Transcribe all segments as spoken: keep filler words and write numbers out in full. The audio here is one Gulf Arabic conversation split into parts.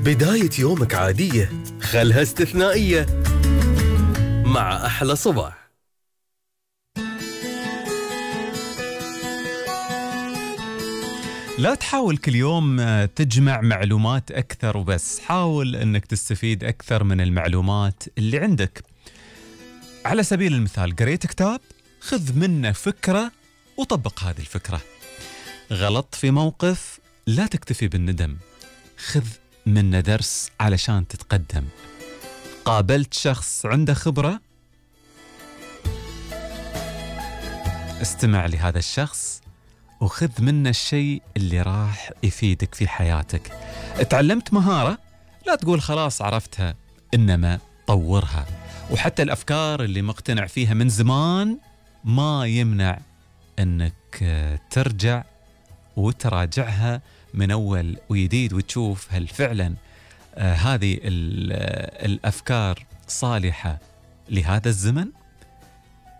بداية يومك عادية خلها استثنائية مع أحلى صباح. لا تحاول كل يوم تجمع معلومات أكثر وبس، حاول أنك تستفيد أكثر من المعلومات اللي عندك. على سبيل المثال، قريت كتاب، خذ منه فكرة وطبق هذه الفكرة. غلط في موقف، لا تكتفي بالندم، خذ منه درس علشان تتقدم. قابلت شخص عنده خبرة، استمع لهذا الشخص وخذ منه الشيء اللي راح يفيدك في حياتك. اتعلمت مهارة، لا تقول خلاص عرفتها، إنما طورها. وحتى الأفكار اللي مقتنع فيها من زمان ما يمنع أنك ترجع وتراجعها من أول وجديد وتشوف هل فعلا آه هذه الأفكار صالحة لهذا الزمن،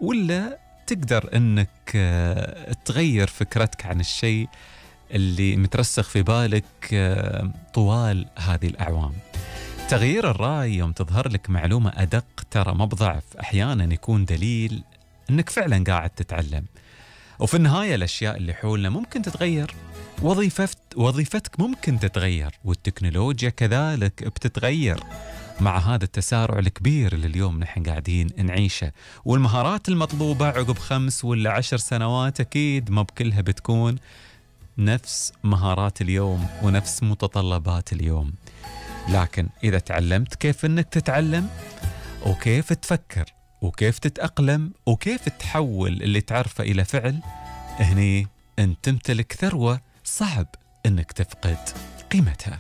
ولا تقدر أنك آه تغير فكرتك عن الشيء اللي مترسخ في بالك آه طوال هذه الأعوام. تغيير الرأي يوم تظهر لك معلومة أدق ترى ما بضعف، أحيانا يكون دليل أنك فعلا قاعد تتعلم. وفي النهاية الأشياء اللي حولنا ممكن تتغير، وظيفت وظيفتك ممكن تتغير، والتكنولوجيا كذلك بتتغير مع هذا التسارع الكبير اللي اليوم نحن قاعدين نعيشه. والمهارات المطلوبة عقب خمس ولا عشر سنوات أكيد ما بكلها بتكون نفس مهارات اليوم ونفس متطلبات اليوم. لكن إذا تعلمت كيف أنك تتعلم وكيف تفكر وكيف تتأقلم وكيف تحول اللي تعرفه إلى فعل، هني أنت تمتلك ثروة صعب أنك تفقد قيمتها.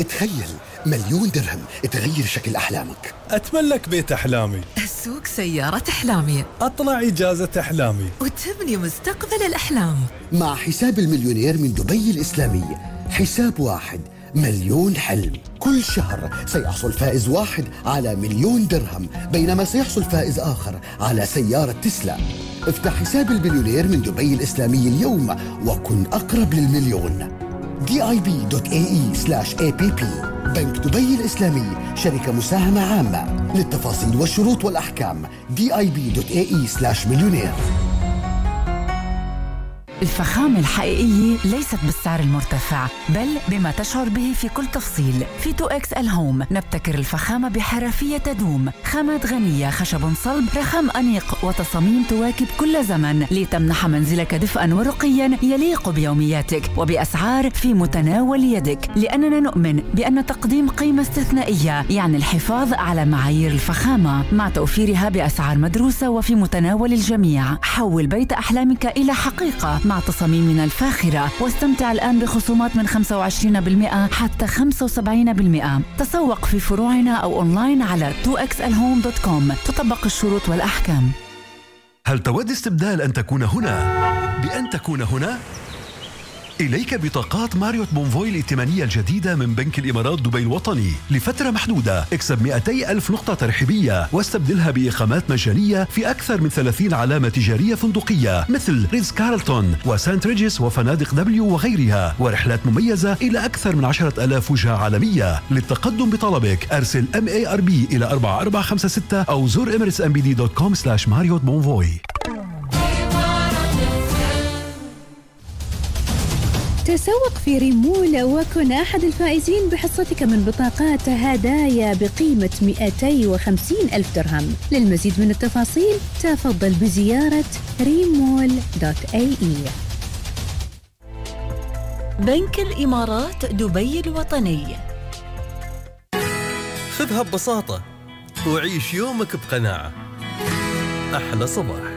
تخيل مليون درهم تغير شكل أحلامك. أتملك بيت أحلامي، أسوق سيارة أحلامي، أطلع إجازة أحلامي، وتبني مستقبل الأحلام. مع حساب المليونير من دبي الإسلامي، حساب واحد مليون حلم. كل شهر سيحصل فائز واحد على مليون درهم، بينما سيحصل فائز آخر على سيارة تسلا. افتح حساب المليونير من دبي الإسلامي اليوم وكن أقرب للمليون. دي آي بي دوت إيه إي سلاش إيه بي بي. بنك دبي الإسلامي، شركة مساهمة عامة. للتفاصيل والشروط والأحكام دي آي بي دوت إيه إي سلاش مليونير. الفخامة الحقيقية ليست بالسعر المرتفع، بل بما تشعر به في كل تفصيل. في تو إكس إل هوم نبتكر الفخامة بحرفية تدوم، خامات غنية، خشب صلب، رخام أنيق، وتصاميم تواكب كل زمن لتمنح منزلك دفئا ورقيا يليق بيومياتك وبأسعار في متناول يدك. لأننا نؤمن بأن تقديم قيمة استثنائية يعني الحفاظ على معايير الفخامة مع توفيرها بأسعار مدروسة وفي متناول الجميع. حول بيت أحلامك إلى حقيقة مع تصاميمنا الفاخرة، واستمتع الآن بخصومات من خمسة وعشرين بالمئة حتى خمسة وسبعين بالمئة. تسوق في فروعنا أو أونلاين على تو إكس إل هوم دوت كوم. تطبق الشروط والأحكام. هل تود استبدال أن تكون هنا بأن تكون هنا؟ إليك بطاقات ماريوت بونفوي الائتمانية الجديدة من بنك الإمارات دبي الوطني لفترة محدودة. اكسب مئتي ألف نقطة ترحيبية واستبدلها بإقامات مجانية في أكثر من ثلاثين علامة تجارية فندقية مثل ريتز كارلتون وسانت ريجيس وفنادق دبليو وغيرها، ورحلات مميزة إلى أكثر من عشرة ألاف وجهة عالمية. للتقدم بطلبك أرسل إم إيه آر بي إلى أربعة أربعة خمسة ستة أو زور إميريتس إم بي دي دوت كوم سلاش ماريوت بونفوي. تسوق في ريمول وكن أحد الفائزين بحصتك من بطاقات هدايا بقيمة مئتين وخمسين ألف درهم. للمزيد من التفاصيل تفضل بزيارة ريمول دوت إيه إي. بنك الإمارات دبي الوطني. خذها ببساطة وعيش يومك بقناعة. أحلى صباح.